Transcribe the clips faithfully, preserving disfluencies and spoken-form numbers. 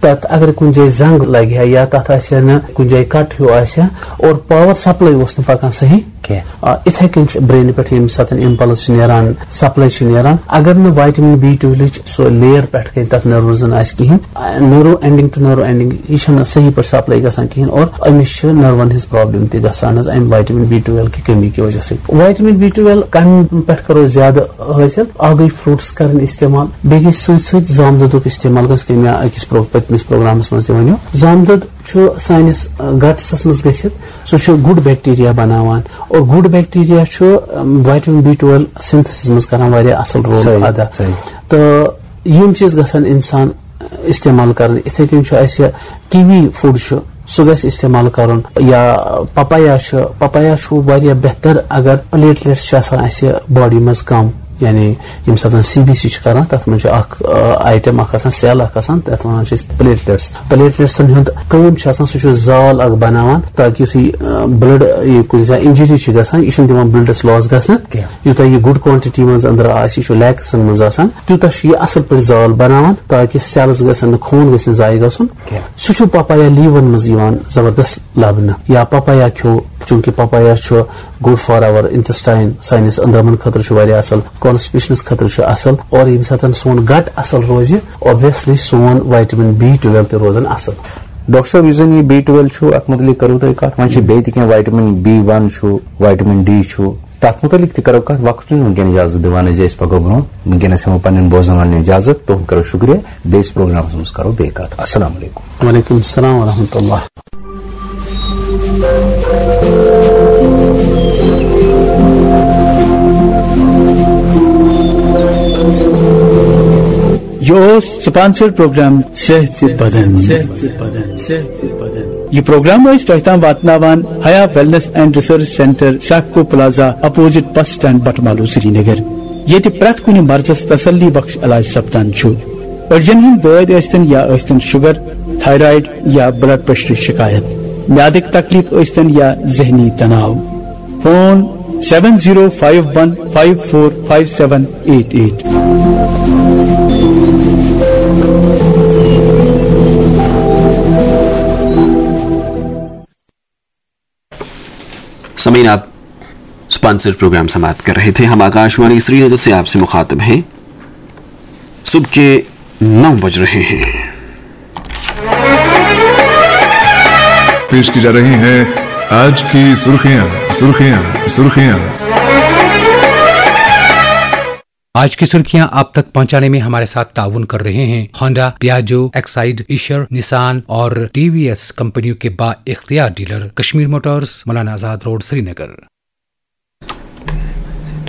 تَتھ اگر کُنہِ جایہِ زنٛگ لگہِ ہا یا تَتھ آسہِ ہا نہٕ کُنہِ جایہِ کٹ ہیوٗ آسہِ ہا اور پاور سپلاے اوس نہٕ پکان صحیح کینٛہہ۔ آ، اِتھے کٔنۍ چھُ برینہِ پٮ۪ٹھ ییٚمہِ ساتہٕ اِمپلس چھِ نیران، سپلاے چھِ نیران، اگر نہٕ وائٹمن بی ٹویلوٕچ سُہ لیر پٮ۪ٹھ کَنۍ تَتھ نٔروزن آسہِ کِہیٖنۍ، نٔرو اینڈنگ ٹو نٔرو اینڈنگ، یہِ چھَنہٕ صحیح پٲٹھۍ سپلاے گژھان کِہیٖنۍ اور أمِس چھِ نٔروَن ہٕنٛز پرابلم تہِ گژھان حظ اَمہِ وائٹمن بی ٹویلو کہِ کمی کہِ وجہ سۭتۍ۔ وائٹمن بی ٹویلو کَمہِ پٮ۪ٹھ کَرو زیادٕ حٲصِل؟ اَکھ گٔے فروٹس کَرٕنۍ استعمال، بیٚیہِ گٔے سۭتۍ سۭتۍ زامہٕ دۄدُک استعمال گژھِ کَمہِ أکِس پرو-، پٔتمِس پروگرامَس منٛز تہِ وَنیو۔ زامہٕ دۄد چھُ سٲنِس، آ، گٹسَس منٛز گٔژھِتھ، سُہ چھُ گُڈ بیکٹیریا بناوان اور گُڈ بیکٹیریا چھُ، آم، وائٹمن بی ٹویلو سِنتھسس منٛز کران واریاہ اصل رول صحیح، ادا۔ صحیح۔ تہٕ یِم چیٖز گژھن انسان استعمال کرٕنۍ۔ اِتھے کٔنۍ چھُ اَسہِ کیوی فوڈ چھُ، سُہ گژھِ استعمال کرُن، یا پپایا چھُ، پپایا چھُ واریاہ بہتر اگر پلیٹلیٹس چھِ آسان اَسہِ باڈی منٛز کم، یعنی ییٚمہِ ساتہٕ سی بی سی چھِ کران، تَتھ منٛز چھُ اکھ، آ، آیٹم اکھ آسان، سیل اکھ آسان، تَتھ وَنان چھِ أسۍ پلیٹلیٹس۔ پلیٹلیٹسن ہُنٛد کٲم چھِ آسان، سُہ چھُ زال اکھ بناوان، تاکہِ یُتھُے، آ، بلڈ، یہِ کُنہِ ساتہٕ انجری چھِ گژھان، یہِ چھُنہٕ دِوان بلڈس لاس گژھنہٕ۔ کینٛہہ۔ یوٗتاہ یہِ گُڈ کوانٹٹی منٛز أنٛدرٕ آسہِ، یہِ چھُ لیکسن منٛز آسان، تیوٗتاہ چھُ یہِ اصل پٲٹھۍ زال بناوان، تاکہِ سیلز گژھن نہٕ، خوٗن گژھِ نہٕ ضایع گژھُن۔ کینٛہہ۔ سُہ چھُ پپایا لیٖون منٛز یِوان زبردست لبنہٕ، یا پپایا کھیو، چوٗنٛکہِ پپایا چھُ good for our intestine، سٲنِس أنٛدرمن خٲطرٕ چھُ واریاہ اصل، کانسٹپیشنس خٲطرٕ چھُ اصل، اور ییٚمہِ ساتہٕ سون گٹ اصل روزِ، obviously سون وائٹمن بی ٹویلو تہِ روزان اصل۔ ڈاکٹر صٲب، یُس زن یہِ بی ٹویلو چھُ، اتھ متعلق کرو تۄہہِ کتھ، وۄنۍ چھِ بیٚیہِ تہِ کینٛہہ، وائٹمن بی ون چھُ، وائٹمن ڈی چھُ، تتھ متعلق تہِ کرو کتھ۔ وقت چھُنہٕ وٕنکیٚن اجازت دِوان اَسہِ، أسۍ پکو برونٛہہ۔ وٕنکیٚنس ہٮ۪مو پننٮ۪ن بوزن والٮ۪ن اجازت، تُہُنٛد کرو شُکریہ۔ بیٚیِس پروگرامس منٛز کرو بیٚیہِ کتھ۔ السلام علیکم۔ وعلیکم السلام ورحمۃ اللہ۔ یہِ اوس سپانسر پروگرام صحت تہٕ بدن۔ صحت تہٕ بدن۔ صحت تہٕ بدن۔ یہِ پروگرام ٲسۍ تۄہہِ تام واتناوان Haya wellness and research centre, سیفکو plaza, opposite bus stand, Batamaloo, Srinagar. ییٚتہِ پرٛٮ۪تھ کُنہِ مرضس تسلی بخش علاج سپدان چھُ۔ أڈجن ہٕنٛدۍ دٲدۍ ٲسۍتن یا ٲسۍتن شُگر، تھایرایڈ یا بلڈ پریشرٕچ شکایت، میادٕکۍ تکلیف ٲسۍتن یا ذہنی تناو۔ Phone seven zero five one five four five seven eight eight۔ سامعین، آپ اسپانسر پروگرام سماعت کر رہے تھے۔ ہم آکاشوانی سری نگر سے آپ سے مخاطب ہیں۔ صبح کے نو بج رہے ہیں۔ پیش کی جا رہی ہیں آج کی سرخیاں، سرخیاں، سرخیاں۔ آج کی سرخیاں آپ تک پہنچانے میں ہمارے ساتھ تعاون کر رہے ہیں ہونڈا، پیاجو، ایکسائیڈ، ایشر، نسان اور ٹی وی ایس کمپنیوں کے با اختیار dealer Kashmir Motors, Maulana Azad road, سری نگر۔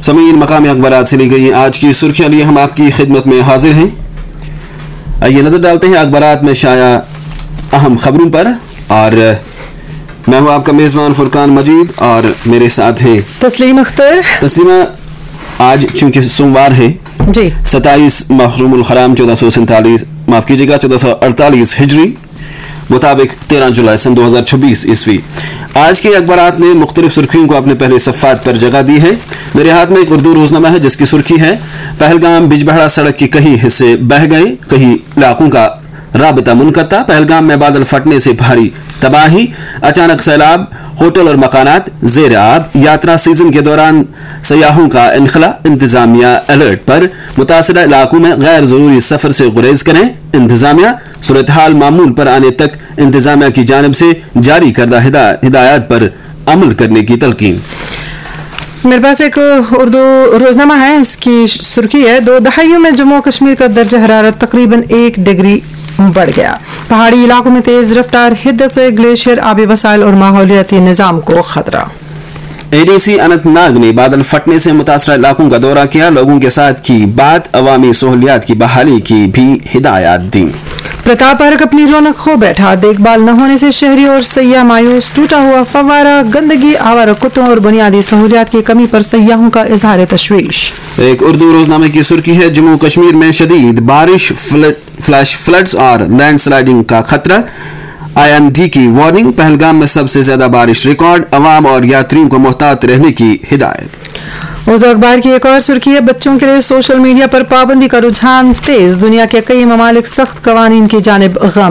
سامعین، مقامی اخبارات سے لی گئی آج کی سرخیاں لیے ہم آپ کی خدمت میں حاضر ہیں۔ آئیے نظر ڈالتے ہیں اخبارات میں شائع اہم خبروں پر، اور میں ہوں آپ کا میزبان فرقان مجید اور میرے ساتھ ہیں تسلیم اختر۔ تسلیمہ، آج چونکہ سوموار ہے، جی۔ ستائیس محرم الحرام چودہ سو سینتالیس، معاف کیجیے گا، چودہ سو اڑتالیس ہجری مطابق تیرہ جولائی سن دو ہزار چھبیس عیسوی۔ آج کے اخبارات نے مختلف سرخیوں کو اپنے پہلے صفحات پر جگہ دی ہے۔ میرے ہاتھ میں ایک اردو روزنامہ ہے جس کی سرخی ہے، پہلگام بجبہڑا سڑک کے کئی حصے بہہ گئے، کئی علاقوں کا رابطہ منقطع، پہلگام میں بادل پھٹنے سے بھاری تباہی، اچانک سیلاب، ہوٹل اور مکانات زیر آب، یاترا سیزن کے دوران سیاحوں کا انخلا، انتظامیہ الرٹ پر، متاثرہ علاقوں میں غیر ضروری سفر سے گریز کریں، انتظامیہ صورتحال معمول پر آنے تک انتظامیہ کی جانب سے جاری کردہ ہدا-، ہدایات پر عمل کرنے کی تلقین۔ میرے پاس ایک اردو روزنامہ ہے، اس کی سرخی ہے، دو دہائیوں میں جموں و کشمیر کا درجہ حرارت تقریباً ایک ڈگری بڑھ گیا، پہاڑی علاقوں میں تیز رفتار حدت سے گلیشیئر، آبی وسائل اور ماحولیاتی نظام کو خطرہ۔ A D C Anant Nag نے بادل پھٹنے سے متاثرہ علاقوں کا دورہ کیا، لوگوں کے ساتھ کی بات، عوامی سہولیات کی بحالی کی بھی ہدایات دیں۔ پرتاپ پارک اپنی رونق کھو بیٹھا، دیکھ بھال نہ ہونے سے شہری اور سیاح مایوس، ٹوٹا ہوا فوارہ، گندگی، آوارہ کتوں اور بنیادی سہولیات کی کمی پر سیاحوں کا اظہار تشویش۔ ایک اردو روزنامے کی سرخی ہے، جموں و کشمیر میں شدید بارش، فلڈ، فلیش فلڈز اور لینڈ سلائیڈنگ کا خطرہ، آئی ایم ڈی کی وارننگ، پہلگام میں سب سے زیادہ بارش ریکارڈ، عوام اور یاتریوں کو محتاط رہنے کی ہدایت۔ اردو اخبار کی ایک اور سرخی ہے، بچوں کے لیے سوشل میڈیا پر پابندی کا رجحان تیز، دنیا کے کئی ممالک سخت قوانین کی جانب گامزن۔